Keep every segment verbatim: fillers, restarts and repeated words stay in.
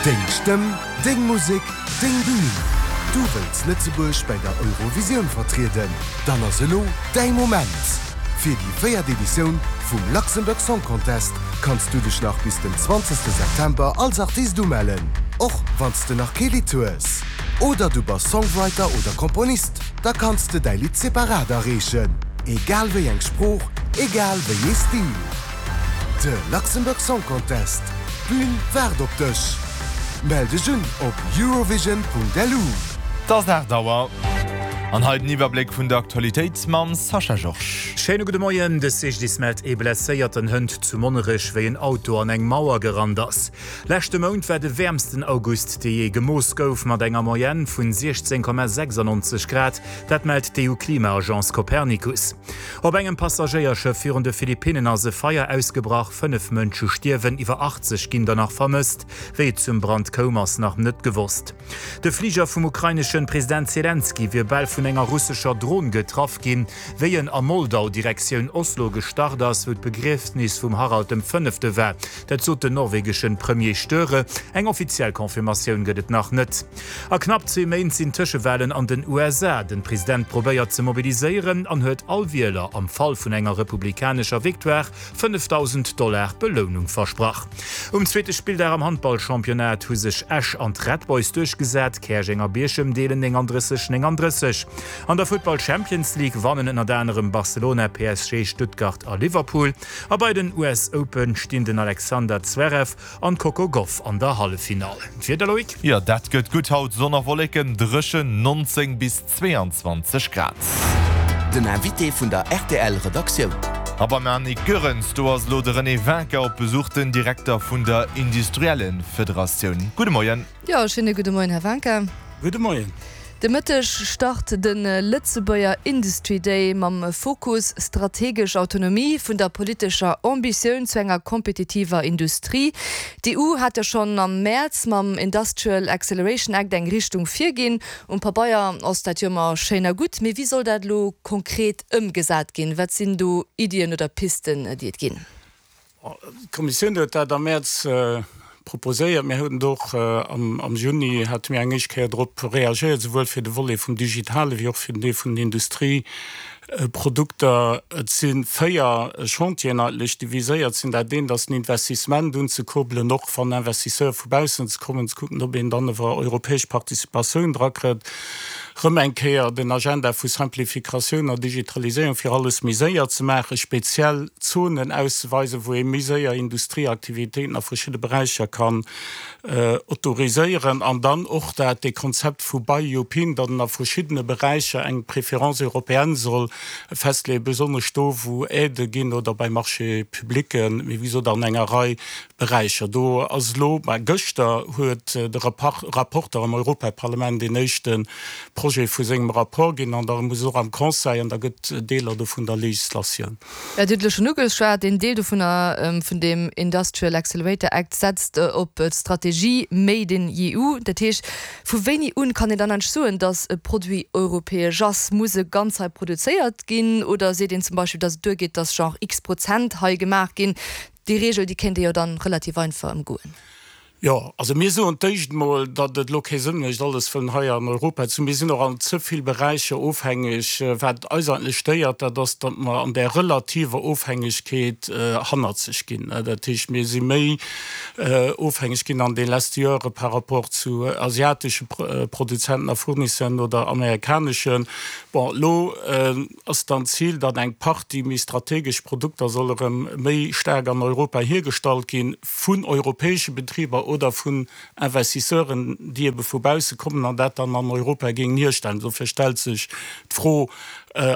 Deng Stëmm, deng Musek, deng Bün! Du wëlls Lëtzebuerg bei der Eurovisioun vertrieden? Dann ass elo däi Moment! Fir déi véiert Editioun vum Luxembourg Song Contest kanns du dech nach bis den zwanzegste September als Artist umellen, och wann s de nach kee Lidd hues. Oder du bass Songwriter oder Komponist, da kanns de däi Lidd separat areechen. Egal wéi eng Sprooch, egal wéi ee Stil. De Luxembourg Song Contest, d'Bün waart op dech! Mell dech un op eurovision.lu. Et ass aacht Auer. An hei den Iwwerbléck vun der Aktualitéit mam Sascha Georges. Schéine gudde Moien. De C G D I S mellt ee Blesséierten hënt zu Monnerech, wéi en Auto an eng Mauer gerannt ass. Leschte Mount war de wäermsten August, dee jee gemooss gouf, mat enger Moyenne vun siechzéng Komma sechsannonzeg Grad. Dat mellt d'E U-Klimaagence Copernicus. Op engem Passagéierschëff virun de Philippinnen ass e Feier ausgebrach, fënnef Mënsche stierwen, iwwer achtzeg ginn der nach vermësst. Wéi et zum Brand koum, ass nach net gewosst. De Fliger vum ukraineschen President Selenskyj wier bal vun enger russescher Dron getraff ginn, wéi en a Moldau Direktioun Oslo gestart ass, wou d'Begriefnis vum Harald dem Fënnefte war. Dat sot den norwegeschen Premier Støre. Eng offiziell Confirmatioun gëtt et nach net. A knapp zwee Méint sinn Tëschewalen an den U S A. Den President probéiert ze mobiliséieren an huet all Wieler am Fall vun enger republikanescher Victoire fënnefdausend Dollar Belounung versprach. Um zweete Spilldag am Handballchampionnat hu sech Esch an d'Red Boys duerchgesat, Käerjeng a Bierchem deelen nénganddrësseg, nénganddrësseg. An der Futtball Champions League wannen ënnert anerem Barcelona, P S G, Stuttgart a Liverpool. A bei den U S Open stinn den Alexander Zverev an d'Coco Gauff an der Halleffinall. D'Wieder, Loïc? Jo, dat gëtt gutt haut, Sonn a Wolleken, dréchen, nonzéng bis zweeanzwanzeg Grad. Den Invité vun der R T L Redaktioun. A beim Annick Goerens, do ass elo de René Wincker op Besuch, den Direkter vun der Industriellenfederatioun. Gudde Moien. Jo, schéine gudde Moien, Här Wincker. Gudde Moien. De Mëtteg start de Lëtzebuerger Industry Day mam Fokus strategesch Autonomie vun der politescher Ambitioun zu enger kompetitiver Industrie. D'E U hat jo schonn am Mäerz mam Industrial Acceleration Act eng Richtung virginn. Um Pabeier ass dat jo ëmmer schéin a gutt, mee wéi soll dat elo konkret ëmgesat ginn? Wat sinn do Iddien oder Pisten, déi et ginn? D'Kommissioun huet dat am Mäerz proposéiert. Mir hunn och am am Juni hate mir eng éischt Kéier drop reagéiert, souwuel fir de Volet vum Digitale wéi och fir den Deel vun den Industrieprodukter. Et si véier Chantieren eigentlech, déi viséiert sinn. Dat eent ass den Investissement unzekurbelen, och wann Investisseure vu baussen ze kommen, ze kucken, ob een dann iwwer europäesch Participatioun drakritt. Rëm eng Kéier den Agenda vu Simplifikatioun a Digitaliséierung, fir alles méi séier ze maachen, speziell Zonen auszeweisen, wou ee méi séier Industrieaktivitéiten a verschidde Beräicher kann autoriséieren, an dann och dat dee Konzept vu Buy European, datt en a verschiddene Beräicher eng Préférence européenne soll festleeën, besonnesch do wou Aidë ginn oder bei Marchés publics, mee wéi gesot an enger Rei Beräicher. Do ass elo, mä gëschter huet de Rapporteur am Europaparlament deen éischte Projet vu sengem Rapport ginn an da muss och am Conseil an da gëtt Deeler dovun da Legislatioun. Jo, Dir hutt elo schonn ugeschwat, een Deel dovunner, vun deem Industrial Accelerator Act setzt op d'Strategie Made in E U. Dat heescht, vu wéini un kann een dann eigentlech soen, datt e Produit europäesch ass? Muss e ganz hei produzéiert ginn oder seet een zum Beispill, datt et duergeet, datt genre X Prozent hei gemaach ginn? Déi Reegel, déi kéint ee jo dann relativ einfach ëmgoen. Jo, also mir soen d'éischt emol, datt et elo kee Sënn mécht, alles wëllen hei an Europa ze hunn. Mir sinn och an ze vill Beräicher ofhängeg. Wat eis eigentlech stéiert, dat ass, datt mer an där relativer Ofhängegkeet hannerzeg ginn. Dat heescht, mir si méi ofhängeg ginn an de leschte Jore par rapport zu asiatesche Produzenten a Fournisseuren oder amerikaneschen. Bon, elo ass dann d'Zil, datt eng Partie méi strategesch Produkter soll erëm méi staark an Europa hiergestallt ginn vun europäesche Betriber oder vun Investisseuren, déi ebe vu bausse kommen an dat dann an Europa géingen hierstellen. Dofir stellt sech d'Fro,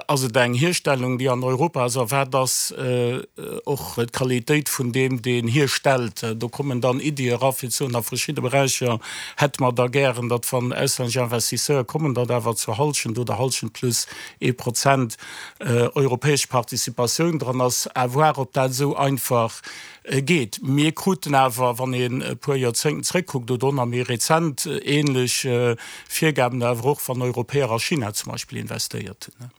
Ass et eng Hierstellung, déi an Europa ass, a wat ass och d'Qualitéit vun deem, deen hierstellt? Do kommen dann Iddie era fir ze soen, a verschidde Beräicher hätte mer da gären, datt wann auslännesch Investisseure kommen, datt awer zur Hallschent oder Hallschent plus ee Prozent europäesch Participatioun dran ass. À voir, ob dat esou einfach geet. Mir kruten awer, wann een e puer Joerzéngten zréckkuckt oder och nach méi rezent, ähnlech Virgaben awer och, wann Europäer a China zum Beispill investéiert hunn.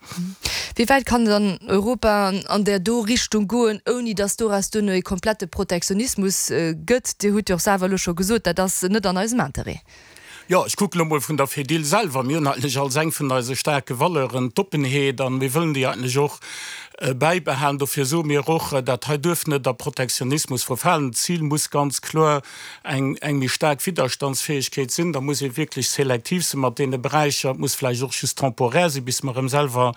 Wéi wäit kann dann Europa an där do Richtung goen, ouni datt doraus duerno e komplette Protektionismus gëtt? Dir hutt jo och selwer elo scho gesot, dat ass net an eisem Interêt. Jo, ech kucken elo mol vun der Fedil selwer. Mir hunn eigentlech als eng vun eise staarke Valeuren d'Oppenheet an mir wëllen déi eigentlech och bäibehalen. Dofir soe mir och, dat hei duerf net a Protektionismus verfalen. D'Zil muss ganz kloer eng eng méi staark Widderstandsfäegkeet sinn. Da muss ee wierklech selektiv si mat deene Beräicher. Et muss vläicht och just temporär sinn, bis mer erëm selwer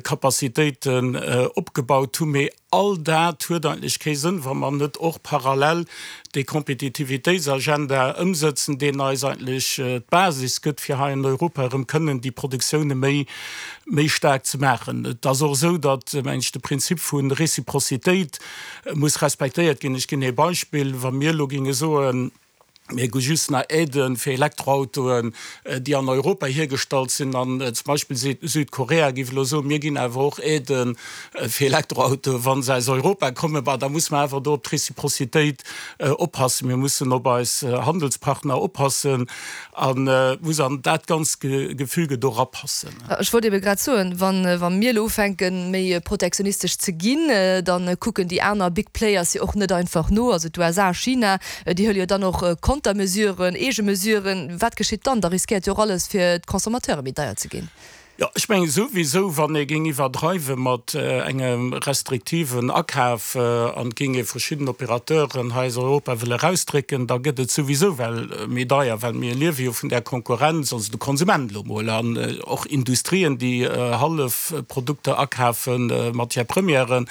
Capacitéiten opgebaut hunn. Mee all dat huet eigentlech kee Sënn, wa mer net och parallel dee Kompetitivitéitsagenda ëmsëtzen, deen eis eigentlech d'Basis gëtt, fir hei an Europa erëm kënnen déi Produktioune méi méi staark ze maachen. Et ass och esou, datt, mengen ech, de Prinzip vu Reciprocitéit muss respektéiert ginn. Ech ginn ee Beispill, Wa mir elo géinge soen, mir gu just nach Aiden fir Elektroautoen, déi an Europa hiergestallt sinn, an zum Beispill Südkorea géif elo soen, mir ginn awer och Aiden fir Elektroautoen, wa se aus Europa kommen, bah, da muss mer awer do op d'Reciprocitéit oppassen. Mir mussen op eis Handelspartner oppassen an et muss an dat ganzt Gefüge do erapassen. Ech wollt ebe grad soen, wa mir elo ufänken, méi protektionistesch ze ginn, da kucken déi aner Big Players jo och net einfach no, also d'USA, China, déi huele jo dann och Kontermesuren, Eegemesuren. Wat geschitt dann? Da riskéiert jo och alles, fir d'Consommateure méi deier ze ginn. Jo, ech mengen souwisou, wann ee géing iwwerdreiwe mat engem restriktiven Akaf an et géing ee verschidden Operateuren hei aus Europa wëlle erausdrécken, da gëtt et souwisou well méi deier, well mir liewe jo vun där Konkurrenz, also de Konsument elo mol, an och Industrien, déi Hallefprodukter akafen, Matière-premièren,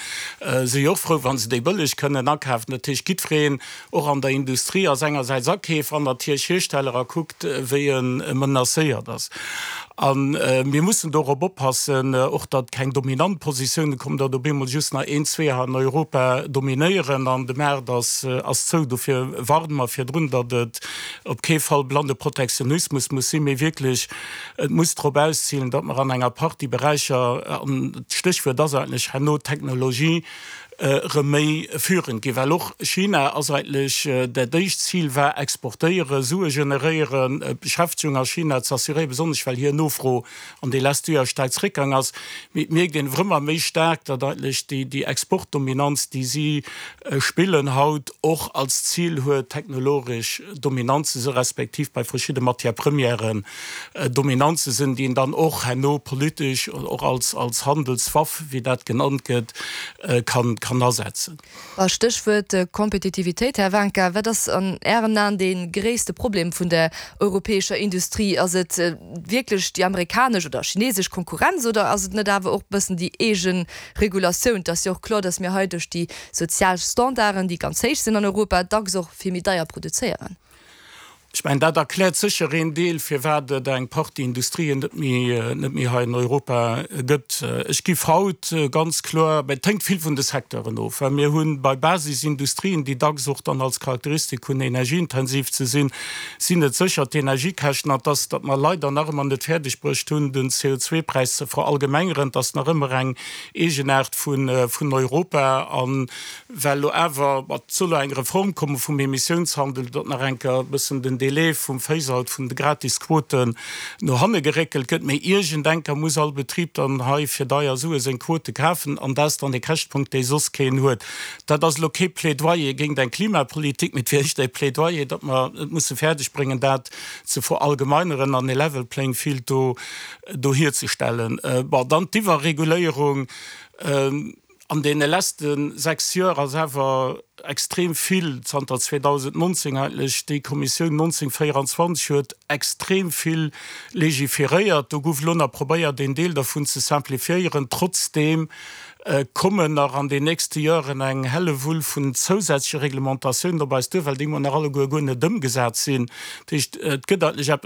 si jo och frou, wa se déi bëlleg kënnen akafen. Dat heescht, jiddwereen, och an der Industrie, ass engersäits Akeefer an natierlech Hiersteller a kuckt, wéi e menacéiert ass. A mir mussen dorop oppassen, och datt keng dominant Positioune kommen, datt op eemol just nach een, zwee hei an Europa dominéieren an de Maart ass zou. Dofir warne mer virdrun, datt et op kee Fall blande Protektionismus muss sinn, mee wierklech et muss drop auszilen, datt mer an enger Partie Beräicher, an d'Stéchwuert ass eigentlech herno Technologie, erëm méi führend ginn, well och China ass eigentlech, dat éischt Zil war exportéieren, Sue generéieren, Beschäftegung a China ze assuréieren, besonnesch well hir Nofro an de leschte Joer staark zréckgaang ass. Mee et mierkt een erëm ëmmer méi staark, datt eigentlech déi, déi Exportdominanz, déi si spillen haut, och als Zil huet, technologesch dominant ze sinn, respektiv bei verschidde Matière-premièren dominant ze sinn, déi een dann och herno politesch och als, als Handelswaff, wéi dat genannt gëtt, kann, kann asetzen. A Stéchwuert Kompetitivitéit, Här Wanka, wat ass an Ären Aen dee gréisste Problem vun der europäescher Industrie? Ass et wierklech déi amerikanesch oder chinesesch Konkurrenz oder ass et net awer och e bëssen déi eege Regulatioun? Et ass jo och kloer, datt mir hei duerch déi sozial Standarden, déi ganz héich sinn an Europa, dacks och vill méi deier produzéieren. Ech mengen, dat erkläert sécher een Deel, firwat et eng Partie Industrien net méi, net méi hei in Europa gëtt. Ech giff haut ganz kloer, mä et hänkt vill vun de Secteuren of, well mir hu bei Basisindustrien, déi dacks och dann als Charakteristik hunn, energieintensiv ze sinn, sinn et sécher d'Energiekäschten an dass, datt mer leider nach ëmmer net fäerdeg bruecht hunn, den C O zwei Präis ze verallgemengeren, et ass nach ëmmer eng Eegenaart vun, vun Europa. An well elo awer, et soll elo eng Reform komme vum Emissiounshandel, datt nach eng Kéier e bëssen den Délai vum Phase-out vun de Gratisquoten no hanne geréckelt gëtt, mee iergendenker muss all Betrib dann hei fir deier Sue seng Quote kafen, an dat ass dann e Käschtpunkt, dee soss keen huet. Dat ass elo kee Plädoyer géint eng Klimapolitik, mee et wier éischter e Plädoyer, datt mer et musse fäerdeg bréngen, dat ze verallgemeineren an e level playing field do do hierzestellen. Bon, dann d'Iwwerreguléierung. An deene leschte sechs Joer ass awer extrem vill, zanter zweedausendnonzéng eigentlech, déi Kommissioun neunzénhunnertvéierundzwanzeg huet extrem vill legiferéiert. Do gouf elo nach probéiert, een Deel dervun ze simplifiéieren. Trotzdeem kommen nach an den nächste Joren eng Hellewull vun zousätzleche Reglementatiounen op eis duer, well déi emol nach alleguer guer net ëmgesat sinn. Dat heescht, et gëtt eigentlech eppes,